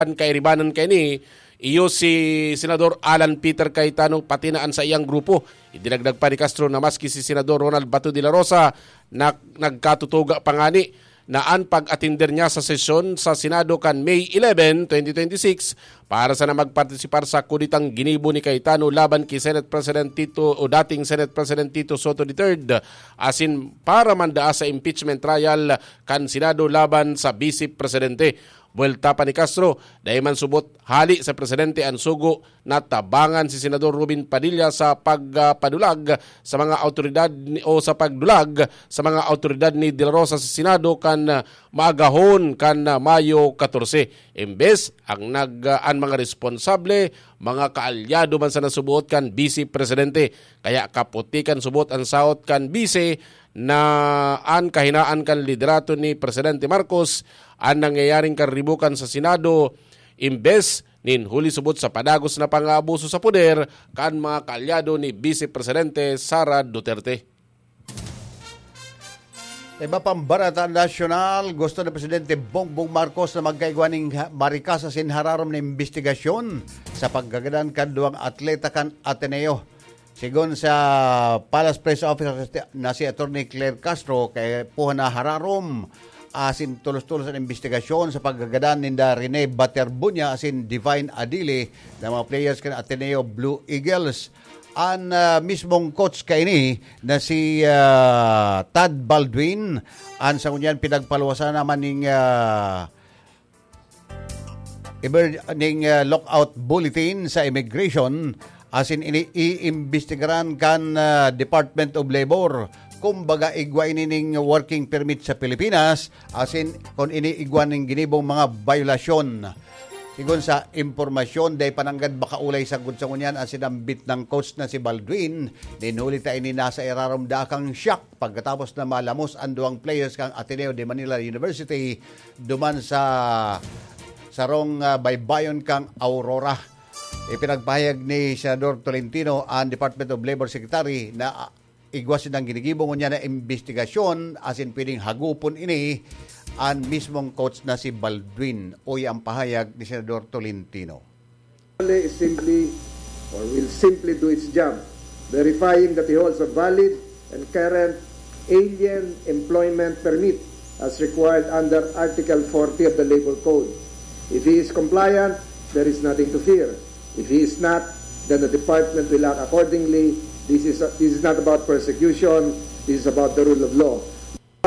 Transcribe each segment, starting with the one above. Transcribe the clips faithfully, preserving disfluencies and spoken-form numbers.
An kairibanan kaini, iyo si Senador Alan Peter Cayetano pati na an saiyang grupo. Idinagdag pa ni Castro na maski si Senador Ronald Bato de la Rosa na nagkatutuga pa ngani na an pag-atender niya sa sesyon sa Senado kan May eleven, twenty twenty-six para sana magpartisipar sa kudetang ginibo ni Cayetano laban ki Senate President Tito o dating Senate President Tito Soto the third, asin para mandaa sa impeachment trial kan Senado laban sa Vice Presidente. Buwelta pa ni Castro, dai man subot hali sa presidente an sugo na tabangan si Senador Robin Padilla sa pagpadulag sa mga awtoridad ni, o sa pagdulag sa mga awtoridad ni De La Rosa sa Senado kan, ah, maagahon kan, ah, Mayo katorse. Imbes, ang nag, ah, an mga responsable, mga kaalyado man sana subot kan Vice Presidente. Kaya kaputi kan subot an sahot kan Vice na an kahinaan kan liderato ni Presidente Marcos an nangyayaring karibukan sa Senado, imbes nin huli subot sa padagos na pang-aabuso sa poder kan mga kaalyado ni Vice Presidente Sara Duterte. Iba pang barata nasyonal, gusto ni Presidente Bongbong Marcos na magkaigwa ning ha-, marikasan asin hararom na imbestigasyon sa pagkagadan kan duwang atleta kan Ateneo. Sigon sa Palace Press Office na si Attorney Claire Castro, kaipuhan na hararom asin tolos-tolos an imbestigasyon sa pagkagadan ninda Rene Baterbunya asin Divine Adili na mga players kan Ateneo Blue Eagles. An, ah, mismong coach kaini na si, ah, Tad Baldwin, an sa ngunyan pinagpaluwasan naman ning, ah, emer-, ning, ah, lockout bulletin sa immigration, asin ini iimbestigaran kan, ah, Department of Labor. Kumbaga, igwa ini ning working permit sa Pilipinas, asin kun ini igwa ning ginibong mga violasyon. Sigon sa impormasyon, dai pa nanggad makaulay sagkod sa ngunyan an sinambit nang coach na si Baldwin. Nin huli ta ini nasa irarom dakang shock pagkatapos na malamos an duwang players kan Ateneo de Manila University duman sa sarong, ah, baybayon kan Aurora. Ipinagpahayag ni Senador Tolentino, an Department of Labor Secretary, na, ah, igwa sindang ginigibo ngunyan na imbestigasyon asin pwedeng hagupon ini an mismong coach na si Baldwin. Uya ang pahayag ni Senador Tolentino. Only is simply or will simply do its job, verifying that he holds a valid and current alien employment permit as required under Article forty of the Labor Code. If he is compliant, there is nothing to fear. If he is not, then the department will act accordingly. This is, this is not about persecution. This is about the rule of law.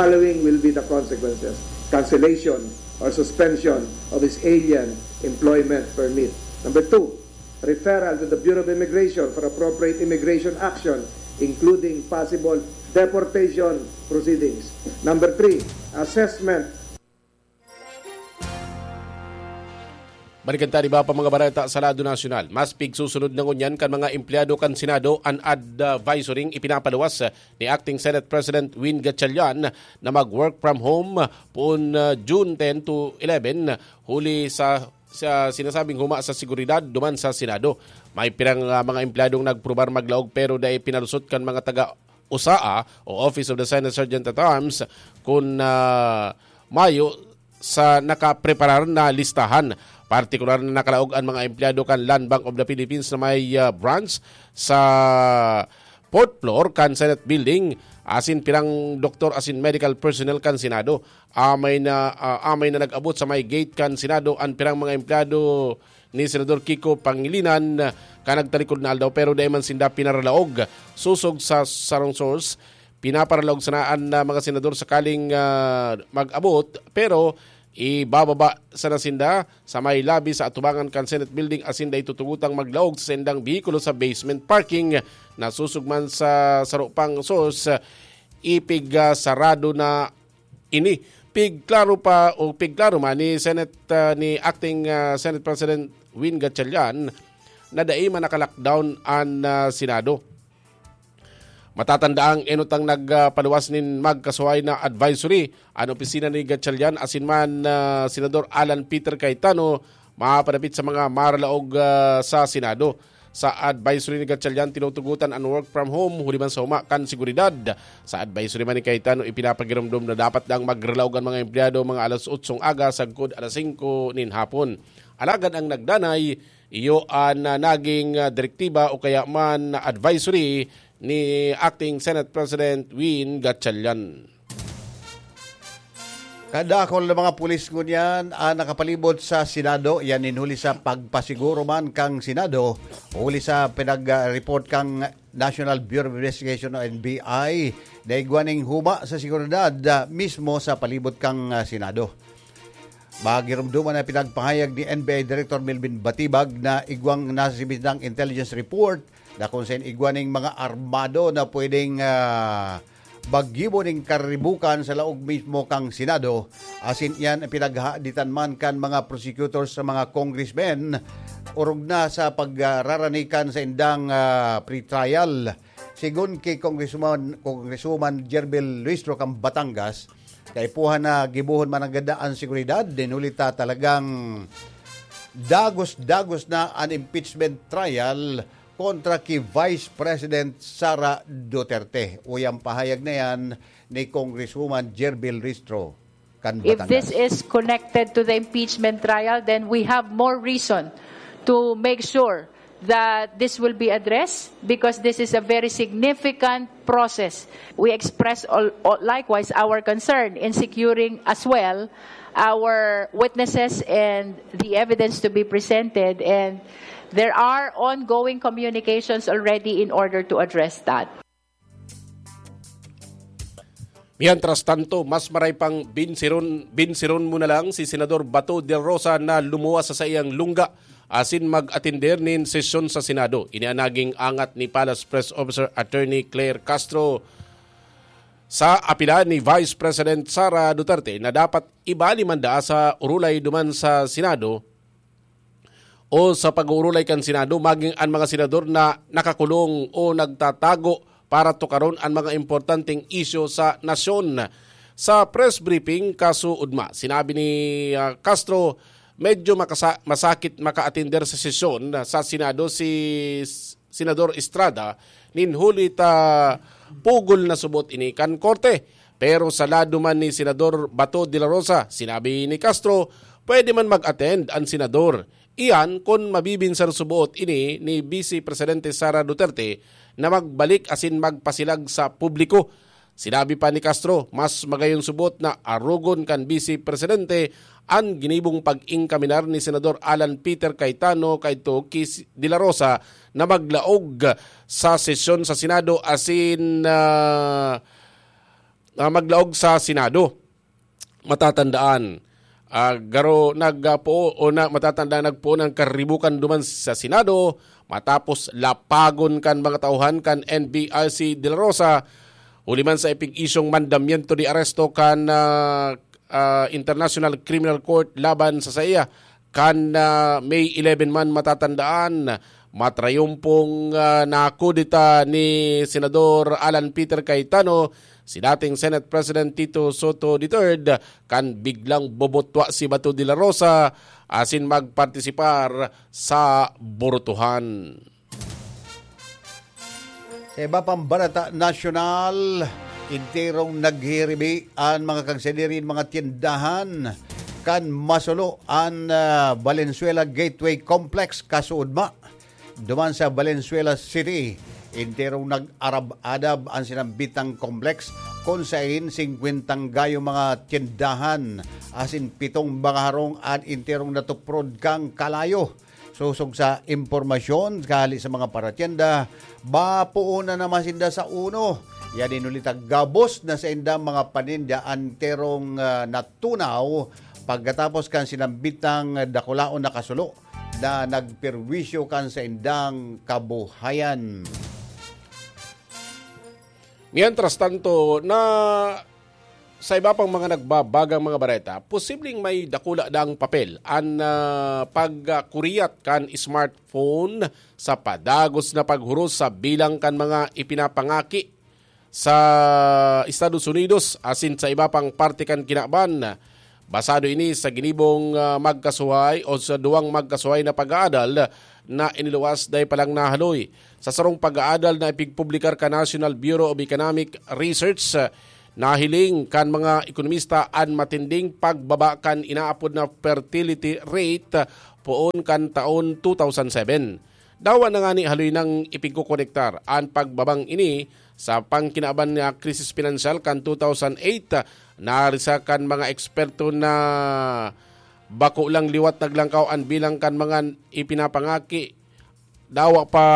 Following will be the consequences: cancellation or suspension of his alien employment permit. Number two, referral to the Bureau of Immigration for appropriate immigration action, including possible deportation proceedings. Number three, assessment. Balikan ta an iba pa mga bareta sa lado nasyonal. Mas pigsusunod na ngunyan kan mga empleyado kan Senado an advisory ipinapaluwas ni Acting Senate President Win Gatchalian na mag-work from home poon, ah, June ten to eleven, huli sa, sa sinasabing huma sa seguridad duman sa Senado. May pirang, ah, mga empleyadong nagprobar maglaog pero dai pinalusot kan mga taga-usaa o Office of the Senate Sergeant at Arms kun, ah, mayo sa nakapreparar na listahan. Partikular na nakalaog an mga empleyado kan Land Bank of the Philippines na may, ah, branch sa fourth floor kan Senate Building, asin pirang doktor asin medical personnel kan Senado. Amay na, ah, amay na nag-abot sa may gate kan Senado an pirang mga empleyado ni Senador Kiko Pangilinan, ah, kan nagtalikod na aldaw, pero dai man sinda pinaralaog. Sosog sa sarong source, pinaparalaog sana an, ah, mga senador sakaling, ah, mag-abot, pero ibababa sana sinda sa may lobby sa atubangan kan Senate Building asin dai tutugotang maglaog sa saindang behikulo sa basement parking. Nasosog man sa saro pang source, ipig, ah, sarado na ini. Pigklaro pa o pigklaro man ni Senate, ah, ni Acting, ah, Senate President Win Gatchalian na dai man naka-lockdown an, ah, Senado. Matatandaang enot ang nagpaluwas nin magkasuhay na advisory, an opisina ni Gatchalian asin man, ah, Senador Alan Peter Cayetano, mapadapit sa mga maralaog, ah, sa Senado. Sa advisory ni Gatchalian, tinutugotan an work from home huli man sa huma kan seguridad. Sa advisory man ni Cayetano, ipinapagiromdom na dapat daang magralaog an mga empleyado mga alas otsong aga sagkod alas singko nin hapon. Alagad ang nagdanay, iyo an, ah, naging, ah, direktiba o kaya man advisory ni Acting Senate President Win Gatchalian. Kadakol na mga pulis ngunyan ang nakapalibot sa Senado, yan nin huli sa pagpasiguro man kan Senado, huli sa pinag-report kan National Bureau of Investigation o N B I na igwa nin huma sa seguridad, ah, mismo sa palibot kan, ah, Senado. Magirumduman na pinagpahayag ni N B I Director Melvin Batibag na igwang nasa sibitang intelligence report na kung saan igwa ning mga armado na pwedeng, ah, maggibo ning karibukan sa laog mismo kan Senado. Asin iyan ang pinaghahaditan man kan mga prosecutors sa mga congressmen, orog na sa pagraranikan sa indang, ah, pretrial. Sigon ki Congresswoman, Congresswoman Gerbil Luistro kan Batangas, kaipuhan na gibohon man nanggad an seguridad, nin huli ta talagang dagos-dagos na an impeachment trial kontra ki Vice President Sara Duterte. Uya an pahayag na yan ni Congresswoman Gerbil Luistro kan Batangas. If this is connected to the impeachment trial, then we have more reason to make sure that this will be addressed, because this is a very significant process. We express al-, al-, likewise our concern in securing as well our witnesses and the evidence to be presented, and there are ongoing communications already in order to address that. Mientras tanto, mas maray pang binsiron, binsiron mo na lang si Senador Bato de la Rosa na lumuwas sa saiyang lungga asin mag-atender nin sesyon sa Senado. Ini an naging angat ni Palace Press Officer Attorney Claire Castro sa apila ni Vice President Sara Duterte na dapat ibali man daa sa urulay duman sa Senado o sa pag-uurulay kan Senado, maging an mga senador na nakakulong o nagtatago para tukaron an mga importanteng isyu sa nasyon. Sa press briefing kasuodma, sinabi ni, ah, Castro, medyo makasa-, masakit makaatender sa sesyon sa Senado si S-, Senador Estrada, nin huli ta pugol na subot ini kan korte. Pero sa lado man ni Senador Bato de la Rosa, sinabi ni Castro, pwede man mag-attend an senador. Iyan kun mabibinsan subot ini ni Vice Presidente Sara Duterte na magbalik asin magpasilag sa publiko. Sinabi pa ni Castro, mas magayon subot na arogon kan Vice Presidente an ginibong pag-ingkaminar ni Senador Alan Peter Cayetano kaidto ki s-, De La Rosa na maglaog sa sesyon sa Senado asin, ah, ah, maglaog sa Senado. Matatandaan, ah, garo nagpuo o na, matatandaan nagpuo ng karibukan duman sa Senado matapos lapagon kan mga tauhan kan N B I si De La Rosa, huli man sa ipig-isyong mandamiento de arresto kan, ah, ah, International Criminal Court laban sa saiya. Kan, ah, May eleven man matatandaan, matrayumpong, ah, nakudeta ni Senador Alan Peter Cayetano si dating Senate President Tito Sotto the third kan biglang bobotwa si Bato de la Rosa asin magpartisipar sa burutuhan. Sa iba pang barata nasyonal, enterong naghihiribi an mga kagsadiri nin mga tiendahan kan masulo an, ah, Valenzuela Gateway Complex kasuodma. Duman sa Valenzuela City, enterong nag-arab-adab an sinambitang complex, kun sain singkwentang gayo mga tiendahan asin pitong mga harong an enterong natuprod kan kalayo. Sosog sa impormasyon kali sa mga paratienda, bapoon na naman sinda sa uno. Yan inulit ang gabos na saindang mga paninda enterong, ah, natunaw pagkatapos kan sinambitang dakulaon na kasulo na nagperwisyo kan saindang kabuhayan. Mientras tanto, na sa iba pang mga nagbabagang mga bareta, posibleng may dakula daang papel an, ah, pagkuriyat kan smartphone sa padagos na paghuros sa bilang kan mga ipinapangaki sa Estados Unidos asin sa iba pang parte kan kinaban. Basado ini sa ginibong, ah, magkasuhay o sa duwang magkasuhay na pag-aadal na iniluwas dai pa lang nahaloy. Sa sarong pag-aadal na ipigpublikar kan National Bureau of Economic Research, ah, Nahiling kan mga ekonomista an matinding pagbaba kan inaapod na fertility rate poon kan taon two thousand seven. Dawa na ngani haloy nang ipigkokonektar an pagbabang ini sa pangkinaban nga krisis pinansyal kan two thousand eight. Narisa kan mga eksperto na bako lang liwat naglangkaw an bilang kan mga ipinapangaki, dawa pa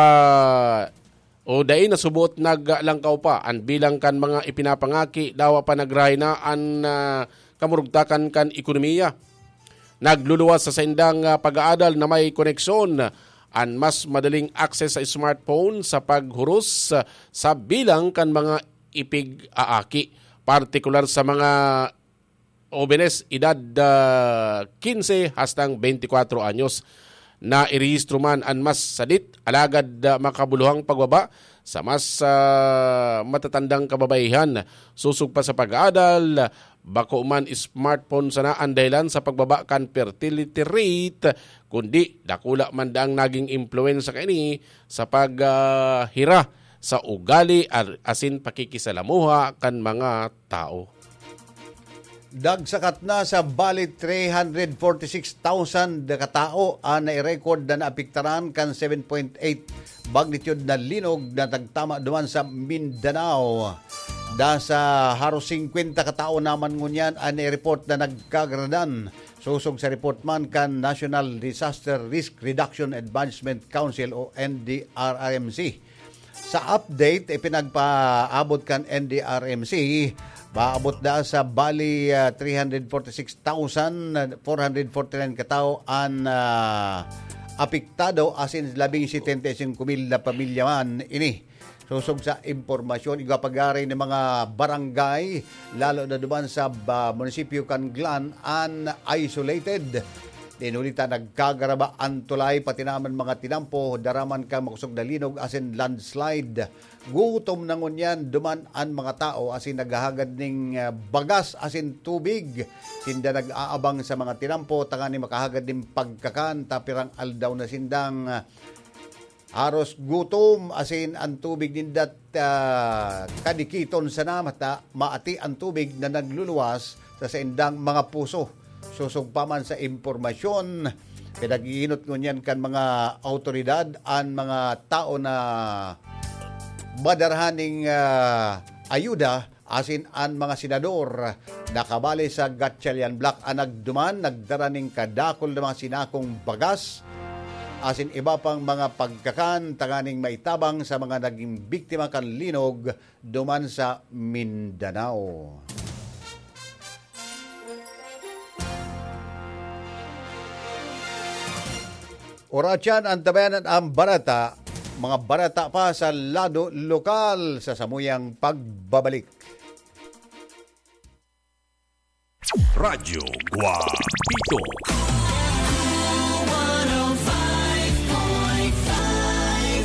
o dai na subot naglangkaw pa an bilang kan mga ipinapangaki, dawa pa nagrahay na an, ah, kamurugtakan kan ekonomiya. Nagluluwas sa saindang, ah, pag-aadal na may koneksyon an mas madaling access sa smartphone sa paghuros, ah, sa bilang kan mga ipig-aaki, partikular sa mga obenes edad, ah, quince hastang veinticuatro anyos. Nairehistro man an mas sadit, alagad, ah, makabuluhang pagbaba sa mas, ah, matatandang kababaihan. Sosog pa sa pag-aadal, bako man smartphone sana an dahilan sa pagbaba kan fertility rate, kundi dakula man daang naging impluwensya kaini sa pag, ah, hira sa ugali ar-, asin pakikisalamuha kan mga tao. Dagsakat na sa bali three hundred forty-six thousand katao an nai-record na naapektaran kan seven point eight magnitude na linog na nagtama duman sa Mindanao. Da sa haros singkwenta katao naman ngunyan an nai-report na nagkagaradan. Sosog sa report man kan National Disaster Risk Reduction Advancement Council o N D R R M C. Sa update, ipinagpaabot kan N D R M C, maabot na sa bali, ah, three hundred forty-six thousand four hundred forty-nine katao an, ah, apektado, asin labing setenta y cinco mil na pamilya man ini. Sosog sa impormasyon, igwa pagari ng mga barangay, lalo na duman sa, ah, munisipyo kan Glan, an isolated. Dinuli ta nagkagaraba an tulay, pati naman mga tinampo, daraman kan makosog na linog asin landslide. Gutom na ngunyan duman an mga tao asin naghahagad ning, ah, bagas asin tubig. Sinda nag-aabang sa mga tinampo tanganing makahagad nin pagkakan, ta pirang aldaw na sindang, ah, haros gutom asin an tubig ninda, ah, kadikiton sana mata maati an tubig na nagluluwas sa saindang mga poso. Sosog pa man sa impormasyon, pinag-iinot ngunyan kan mga awtoridad an mga tao na madarahan ning, ah, ayuda asin an mga senador na kabali sa Gatchalian Bloc an nagduman nagdara ning kadakul na mga sinakong bagas asin iba pang mga pagkakan tanganing maitabang sa mga naging biktima kan linog duman sa Mindanao. Oras yan, antabayanan ang barata, mga barata pa sa lado lokal sa samuyang pagbabalik. Radyo Guapito.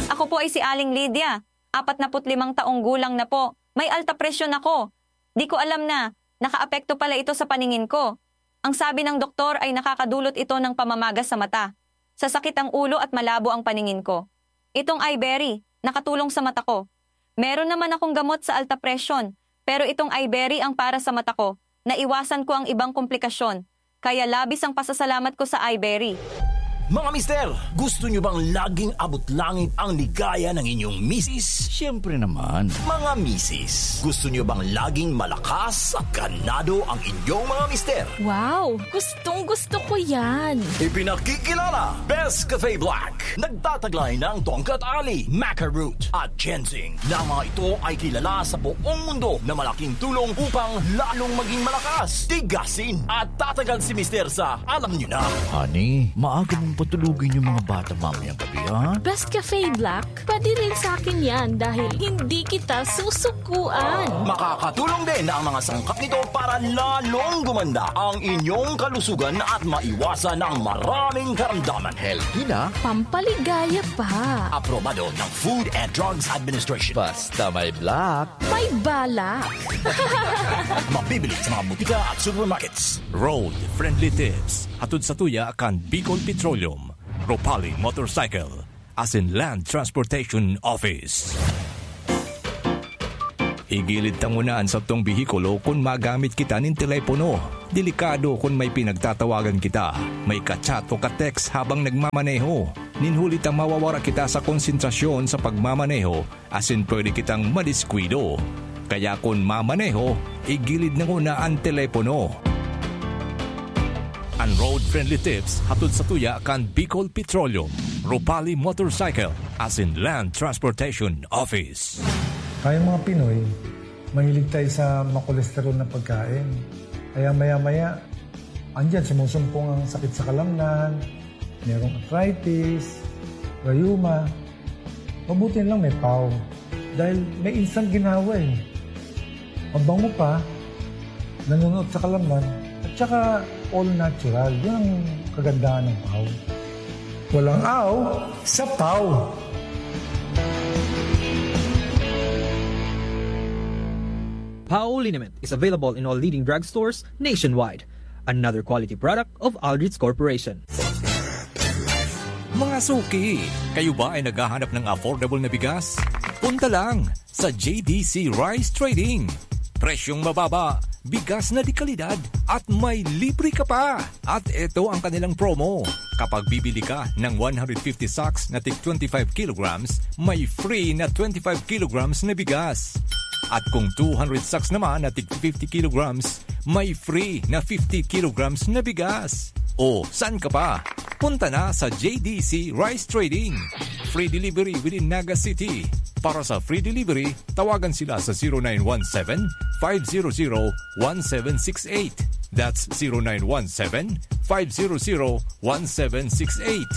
Ako po ay si Aling Lydia, apat na put limang taong gulang na po. May alta presyon ako. Di ko alam na nakaapekto pala ito sa paningin ko. Ang sabi ng doktor ay nakakadulot ito ng pamamaga sa mata, sasakit ang ulo at malabo ang paningin ko. Itong Iberry, nakatulong sa mata ko. Meron naman akong gamot sa alta presyon, pero itong Iberry ang para sa mata ko. Naiwasan ko ang ibang komplikasyon, kaya labis ang pasasalamat ko sa Iberry. Mga mister, gusto nyo bang laging abot langit ang ligaya ng inyong misis? Siyempre naman. Mga misis, gusto nyo bang laging malakas at ganado ang inyong mga mister? Wow! Gustong gusto ko yan! Ipinakikilala, Best Cafe Black. Nagtataglay ng Tongkat Ali, Maca Root, at Ginseng. Na mga ito ay kilala sa buong mundo na malaking tulong upang lalong maging malakas, tigasin, at tatagal si Mister sa alam nyo na. Honey, maaga mong patulugin yung mga bata mamayang gabi, ha? Best Cafe Black, pwede rin sa akin yan dahil hindi kita susukuan. Makakatulong din ang mga sangkap nito para lalong gumanda ang inyong kalusugan at maiwasan ang maraming karamdaman. Healthy na, Pampaligaya pa. Aprobado ng Food and Drugs Administration. Basta may black. May balak. Mabibili sa mga butika at supermarkets. Road Friendly Tips. Hatod sa tuya kan Bicol Petroleum, Ropali Motorcycle, asin Land Transportation Office. Igilid ta nguna an satong behikulo kun magamit kita nin telepono. Delikado kun may pinagtatawagan kita, may ka-chat o ka-text habang nagmamaneho. Nin huli ta mawawara kita sa konsentrasyon sa pagmamaneho asin pwede kitang madiskuido. Kaya kun mamaneho, igilid na nguna an telepono. An road-friendly tips hatod sa tuya kan Bicol Petroleum, Ropali Motorcycle, asin Land Transportation Office. Tayong mga Pinoy, mahilig tayo sa makolesterol na pagkain. Kaya maya-maya, andyan sumusumpong ang sakit sa kalamnan, merong arthritis, rayuma. Mabuti na lang may pau. Dahil may instant ginawa eh. Mabango pa, nanunuot sa kalamnan, at saka all natural. Yun ang kagandahan ng pau. Walang aw sa pau. Pau liniment is available in all leading drugstores nationwide. Another quality product of Aldrich Corporation. Mga suki, kayo ba ay naghahanap ng affordable na bigas? Punta lang sa J D C Rice Trading. Presyong mababa, bigas na de kalidad, at may libre ka pa! At eto ang kanilang promo. Kapag bibili ka ng one hundred fifty sacks na tig twenty-five kilograms, may free na twenty-five kilograms na bigas. At kung two hundred sacks naman na tig fifty kilograms, may free na fifty kilograms na bigas. O, saan ka pa? Punta na sa J D C Rice Trading. Free delivery within Naga City. Para sa free delivery, tawagan sila sa zero nine one seven, five zero zero, one seven six eight. That's zero nine one seven, five zero zero, one seven six eight.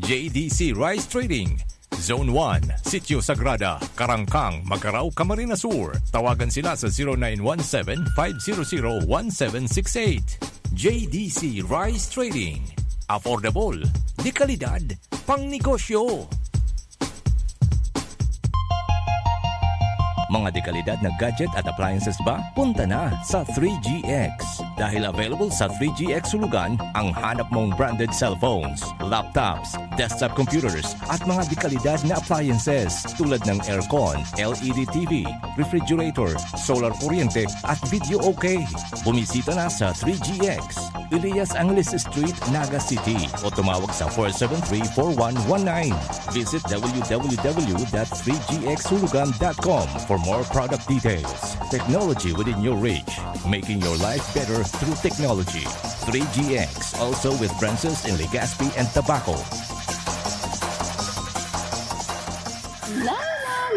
J D C Rice Trading, Zone one, Sitio Sagrada, Karangkang, Magarao, Camarines Sur. Tawagan sila sa zero nine one seven, five zero zero, one seven six eight. J D C Rice Trading. Affordable, de kalidad, pangnegosyo. Mga dekalidad na gadget at appliances ba? Punta na sa three G X. Dahil available sa three G X Hulugan ang hanap mong branded cellphones, laptops, desktop computers, at mga dekalidad na appliances tulad ng aircon, L E D T V, refrigerator, solar kuryente, at video okay. Bumisita na sa three G X, Elias Angeles Street, Naga City, o tumawag sa four seven three, four one one nine. Visit w w w dot three g x hulugan dot com for more product details. Technology within your reach, making your life better through technology. Three G X, also with branches in Legazpi and Tabaco. La,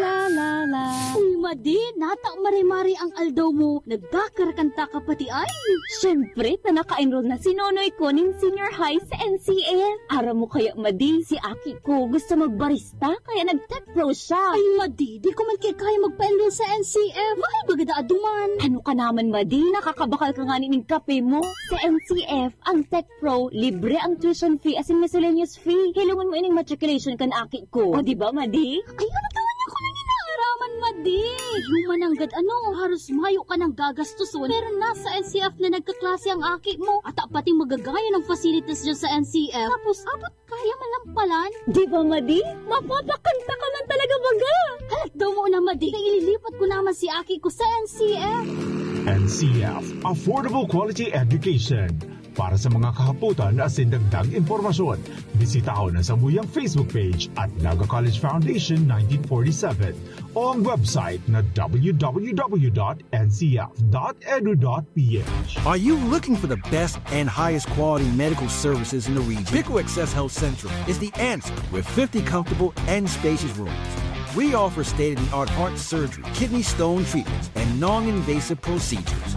la, la, la, la. Uy, Madi, nata mare-mare ang aldaw mo. Nagkakarakanta ka pati ay. Siyempre, ta naka-enroll na si Nonoy ko nin senior high sa N C F. Aram mo kaya, Madi, si aki ko gusto magbarista, kaya nag-tech pro siya. Ay, Madi, di ko man kaya magpa-enroll sa N C F. Mahal baga daa duman. Ano ka naman, Madi? Nakakabakal ka ngani nin kape mo. Sa N C F, ang tech pro, libre ang tuition fee asin miscellaneous fee. Hilongon mo ining matriculation kan aki ko. O, di ba, Madi? Ay, ano ka man ako nang inaaraman, Madi? Human nanggad ano, haros mayo ka nang gagastuson. Pero nasa N C F na nagkaklase ang aki mo. At pating magagayon ang facilities dyan sa N C F. Tapos, abot kaya man lang palan. Di ba, Madi? Mapapakanta ka man talaga baga! Halat daw mo na, Madi, na ililipat ko naman si aki ko sa N C F. N C F, Affordable Quality Education. Para sa mga kahapotan asin dagdag impormasyon, bisitahon ang samuyang Facebook page at Naga College Foundation nineteen forty-seven o ang website na w w w dot n c f dot edu dot p h. Are you looking for the best and highest quality medical services in the region? Pico Access Health Central is the answer with fifty comfortable and spacious rooms. We offer state-of-the-art heart surgery, kidney stone treatments, and non-invasive procedures.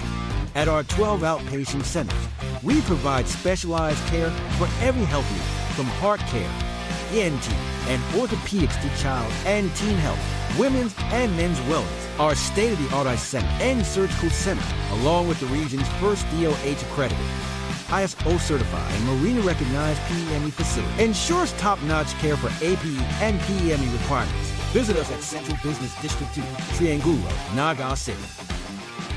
At our twelve outpatient centers, we provide specialized care for every health need, from heart care, E N T, and orthopedics to child and teen health, women's and men's wellness. Our state-of-the-art eye center and surgical center, along with the region's first D O H accredited, I S O certified, and Marina recognized P E M E facility, ensures top-notch care for A P E and P E M E requirements. Visit us at Central Business District two, Triangulo, Naga City.